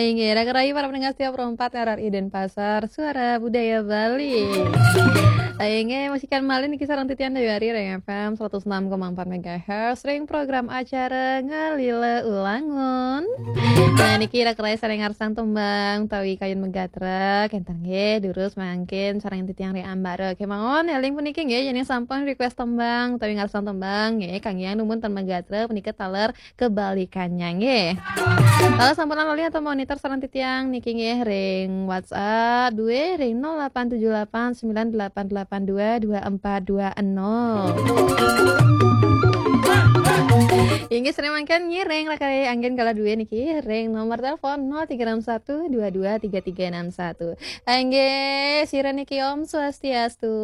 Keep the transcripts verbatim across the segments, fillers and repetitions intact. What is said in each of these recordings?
Inggih, raka rahayu para pendengar setia Pro empat R R I Denpasar, Suara Budaya Bali. Inggih, masih kalian malih niki sareng titiang Dayu Ari ring F M seratus enam koma empat megahertz, ring program acara Ngalila Ulangun. Nah, niki raka rahayu sané ngarsang tembang utawi kayun magatra, kénten nggih, durus mangkin sareng titiang ring ambara. Kémaon, éling puniki nggih, yén sampun request tembang utawi ngarsang tembang nggih, kanggé numun ten magatra punika taler kebalikannya nggih. Kalau sampun lali atau monitor sareng titiang niki nggih ring WhatsApp duwe ring nol delapan tujuh delapan sembilan delapan delapan dua dua empat dua nol. Inggih, sering mangkin ngiring raka rahayu anggén kala duwe niki ring nomor telepon nol tiga enam satu dua dua tiga tiga enam satu. Inggih, sira niki Om Swastiastu.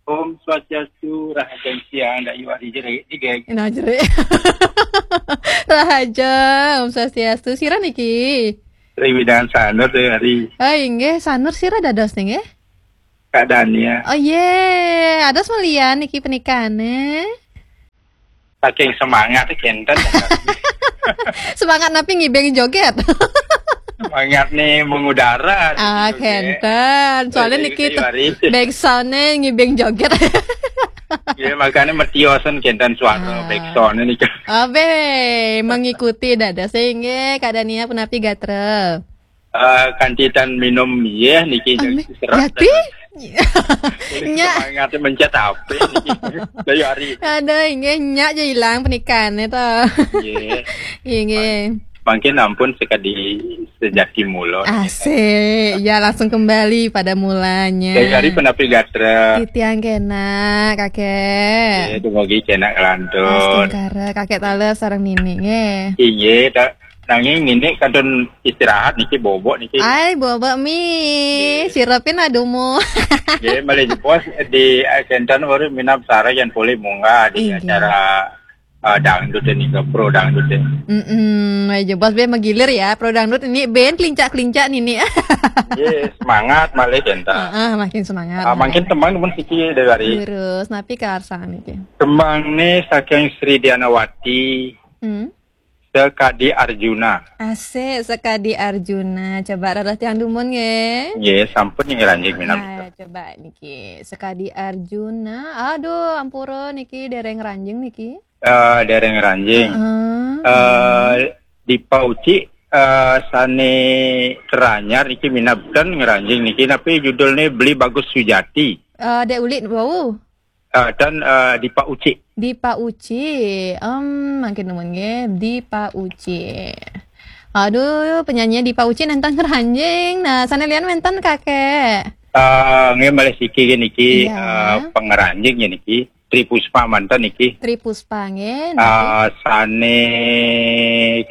Om Swastiastu, rahajeng siang, Dayu Ari jerik, jerik. Nah, jerik. Rahaja, Om Swastiastu. Sira niki? Triwidan Sanur, Dayu Ari. Ah, inggih, Sanur sira dados nggih? Kak Dania. Oh, yé. Ados malian niki pernikahané. Saking semangat kénten. Semangat napi ngibing joget? Semangat nih mengudara. Ah, kénten. Soalnya niki backsound-nya ngibing joget. Ya, makanya mertiosen kénten suara backsound-nya nih. Abe, mengikuti dados. Inggih, Kak Dania punapi gatra? Eh, kanti tan minum, yé, niki. Jati? Nyak. Semangat mencet H P niki. Dayu Ari. Aduh, inggih, nyak aja hilang pernikahannya to. Nggih. Inggih. Mangkin ampun sekadi sejati mula. Asik. Ya, langsung kembali pada mulanya. Dayu Ari punapi gatra? Titiang kénak, Kakek. Nggih, dumugi kénak ngelantur. Astungkara, Kakek taler sareng Nini nggih. Inggih, ta-, nanging Nini kantun istirahat niki, bobok niki. Ai, bobok mi. Nggih. Sirepin adumu. Nggih, malih jebos di, eh, kénten baru minab sareng yén polih munggah di acara, eh, dangdut ini, ke pro dangdut ini. Mm-mm, malih jebos bé magilir ya, pro dangdut ini band kelincak-kelincak Nini. Nggih, semangat malih kénten. Heeh, makin semangat. Ah, malih. Mangkin tembang numun siki, Dayu Ari? Terus, napi karsang niki? Tembang nih saking Sri Dianawati. Hmm. Sekadi Arjuna. Asik, Sekadi Arjuna. Coba rarah tiang dumun nggih. Nggih, sampun ning ranjing minab. Nah, coba niki. Sekadi Arjuna. Aduh, ampura niki dereng ranjing niki. Eh, dereng ranjing. Heeh. Eh, Dipa Uci, eh, sané keranyar niki minab ten ngranjing niki. Napi judulné? Beli Bagus Sujati. Eh, Dek Ulit wau. Eh, dan, eh, Dipa Uci. Dipa Uci. Em, mangkin numun nggih, Dipa Uci. Aduh, penyanyi Dipa Uci nénten ngranjing. Nah, sané lian wénten, Kakek? Eh, nggih, malih siki niki, iya, eh, pangranjing niki. Tri Puspa manten niki. Tri Puspa nggih, niki. Eh, sané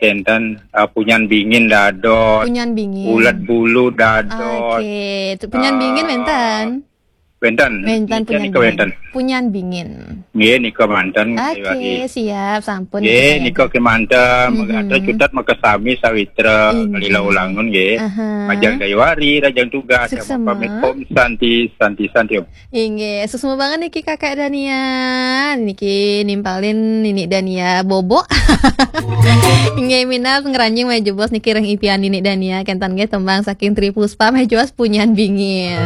kénten, eh, Punyan Bingin dados. Punyan Bingin. Ulet Bulu dados. Oke, tu Punyan Bingin, eh, wénten? Wénten. Wénten. Nika, Punyan nika Bingin. Wénten. Punyan Bingin. Nggih, nika manten, Dayu Ari. Oke, siap, sampun. Nggih, nika kémanten, mhm, mangga cutet makasami sawitra, inggih, Ngalila Ulangun nggih. Aha. Rahajeng Dayu Ari, rahajeng tugas. Suksma. Pamit, Om Santi, Santi, Santi, Om. Inggih, suksma banget niki Kakek Dania. Niki nimpalin Nini Dania bobok. Inggih, minab ngranjing malih jebos niki ring ipian Nini Dania, kénten nggih tembang saking Tri Puspa malih jebos Punyan Bingin.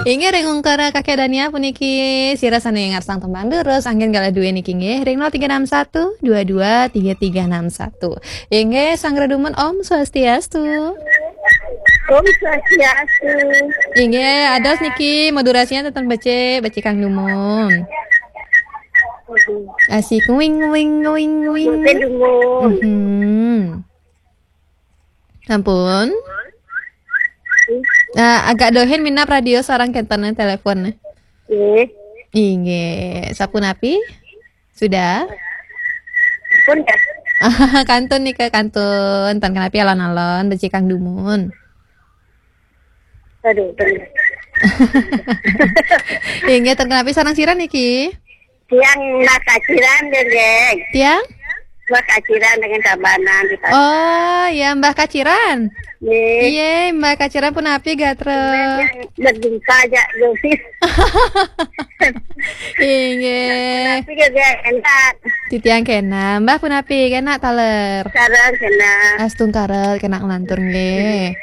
Inggih, ring ungkara Kakek Dania puniki sira sané ngarsang tembang durus anggén galah dué niki nggih ring nol tiga enam satu dua dua tiga tiga enam satu. Inggih, sanggra dumun Om Swastiastu. Om Swastiastu. Inggih, ados niki modulasian ten becik, becik kang dumun. Asik, wing, wing, wing, wing. Mungkin dumun. Mhm. Ampun. Ah, agak dohin minab radio sareng kénten telepon. Nggih. Inggih, sapunapi? Sudah? Pun ya. Kantun nika, kantun. Ten kenapi alon-alon becik kang dumun. Aduh, ten. Inggih, ten kenapi sareng sira niki? Tiang nakaciran, Dendeng. Tiang? Mbah Kaciran dengan Tabanan di pasar. Oh, ya, Mbah Kaciran. Nggih. Iya, Mbah Kaciran punapi gatra? Berjumpa aja, Yosis. Inggih. Tapi juga enak. Titiang kena, Mbah punapi kena taler? Sareng kena. Astungkara kena nglantur nggih.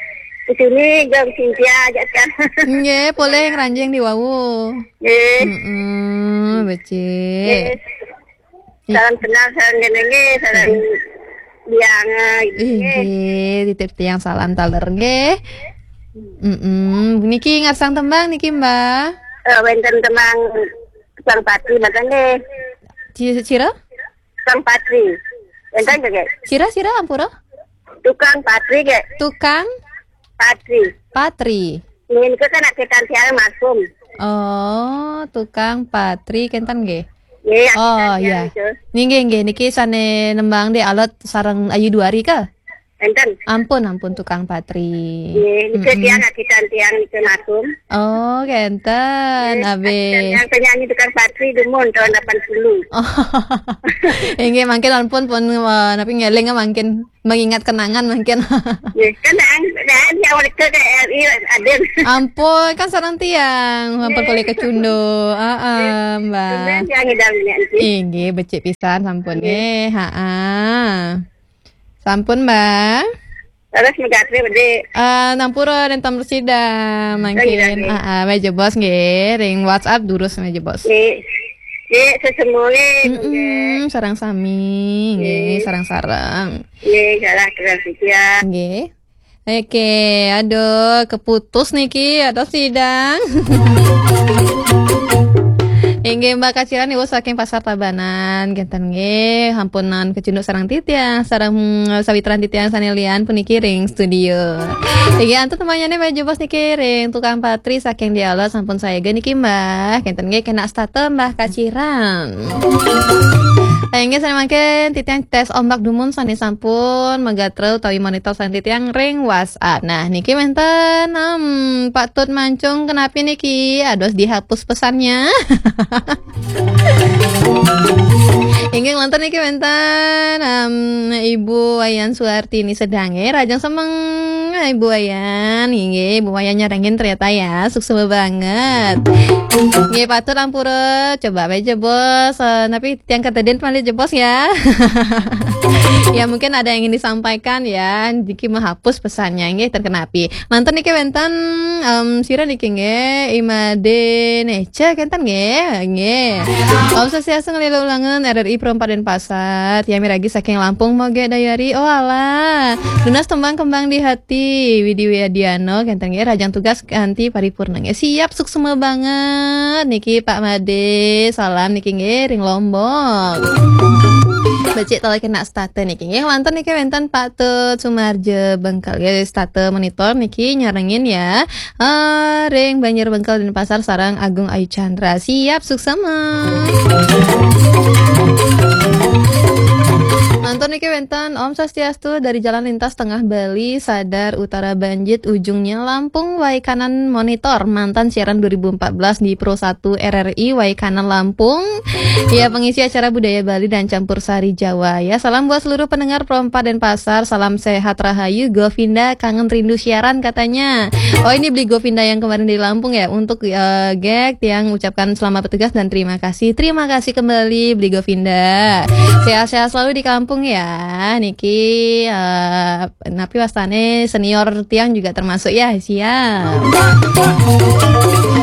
Di sini Jong Cynthia aja kan. Nggih, polih ngranjing di wau. Nggih. Heeh, becik. Nggih. Salam kenal, salam kenal nggih, salam biang nggih. Inggih, titip tiang salam taler nggih. Mm-mm. Niki ngarsang tembang niki, Mbah? Eh, wenten tembang Tukang Patri mboten nggih. Ci-, cira? Tukang Patri. Wenten nggih? Cira, cira, ampura? Tukang Patri nggih. Tukang? Patri. Patri. Nggih, niku kan akitan tiang almarhum. Oh, Tukang Patri kenten nggih. Nggih, akitan Oh, tiang iya. Niku. Nggih, nggih, nggih. Niki sane nembang di alot sareng Ayu Duari ka? Enten. Ampun, ampun, Tukang Patri. Nggih, niku Mm-mm. Tiang akitan tiang niku almarhum. Oh, kenten, Nggih, abe. Akitan tiang penyanyi Tukang Patri dumun tahun delapan puluh. Oh. Inggih, mangkin ampun pun, eh, napi ngeling mangkin mengingat kenangan mangkin. Nggih, kan daan, daan ya mereka ke R I Aden. Ampun, kan sareng tiang, ampun Nggih. Polih kecunduk. Heeh, Mbah. Nggih, tiang ngidam nya niki. Inggih, becik pisan sampun Nggih. Nggih. Heeh. Sampun, Mbah. Terus megatri bedi. Eh, nampura dan tamu sida mangkin. Nggih, nggih. Heeh, meja bos nggih, ring WhatsApp durus meja bos. Nggih. Nggih, sesemua nggih. Mm-mm, sareng sami nggih, Nggih. Sareng-sareng. Nggih, salah terus ya. Nggih. Oke, aduh, keputus niki, aduh sidang. Inggih, Mbah Kaciran niku saking Pasar Tabanan, kenten nggih, hampunan kecunduk sareng titiang, sareng, mm, sawitran titiang sane lian puniki ring studio. Inggih, antuk temanyane meja bos niki ring Tukang Patri saking Dialog sampun sayaga niki, Mbah, kenten nggih kena stata Mbah Kaciran. Inggih, sane mangkin titiang tes ombak dumun sane sampun magatra utawi monitor sane titiang ring WhatsApp. Nah, niki wenten, em, Pak Tut Mancung, kenapi niki? Aduh, dihapus pesannya. Inggih, wonten niki wenten, em, Ibu Wayan Suartini sedange, rajang semeng, Ibu Wayan. Inggih, Ibu Wayan nyarengin ternyata ya, suksma banget. Nggih, Pak Tut ampura, coba bae jebos, eh, tapi tiang katedin malih jebos ya. Ya, mungkin ada yang ingin disampaikan ya, niki menghapus pesannya, nggih, ten kenapi. Manten niki wenten, em, sira niki nggih, Imade Neca kenten nggih, nggih. Om Swastiastu, ngelila ulangan R R I Pro empat Denpasar, tiang miragi saking Lampung moge dayari, oh alah. Nunas tembang Kembang di Hati, Widi Wiadiano kenten nggih, rajang tugas kanti paripurna nggih. Siap, suksma banget niki Pak Made. Salam niki nggih ring Lombok. Becik tali kena stata niki nggih. Wonten niki wenten Pak Tut Sumarja Bengkel nggih, stata monitor niki nyarengin ya. Eh, ring Banjar Bengkel Denpasar sareng Agung Ayu Chandra. Siap, suksma. Manten niki wenten Om Swastiastu dari Jalan Lintas Tengah Bali, Sadar Utara Banjit, ujungnya Lampung, Waikanan monitor mantan siaran dua ribu empat belas di Pro satu R R I Waikanan Lampung. Ya, pengisi acara budaya Bali dan campur sari Jawa. Ya, salam buat seluruh pendengar Pro empat Denpasar. Salam sehat rahayu, Govinda kangen rindu siaran katanya. Oh, ini beli Govinda yang kemarin di Lampung ya. Untuk, eh, Gek, tiang ucapkan selamat bertugas dan terima kasih. Terima kasih kembali beli Govinda. Sehat-sehat selalu di kampung ya. Niki, eh, napi wastane senior tiang juga termasuk ya. Siap.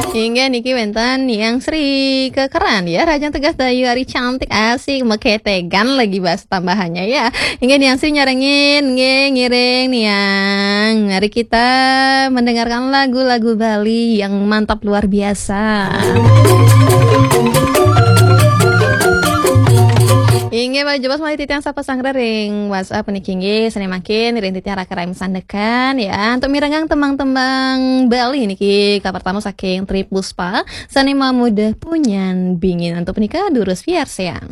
Hingga niki wenten Niang Sri kekeran ya. Rajang tegas dayu ari cantik asik meketegan lagi bahasa tambahannya ya. Hingga Niang Sri nyarengin nggih ngiring Niang. Mari kita mendengarkan lagu-lagu Bali yang mantap luar biasa. Inggih, Pak Jebos malih titiang sapa sanggra ring WhatsApp niki inggih, sane mangkin ring titiang raka rai sandekan ya. Untuk mirengang tembang-tembang Bali niki kapertama saking Tri Puspa, sane mamuda punyan bingin. Untuk punika durus piarsayang.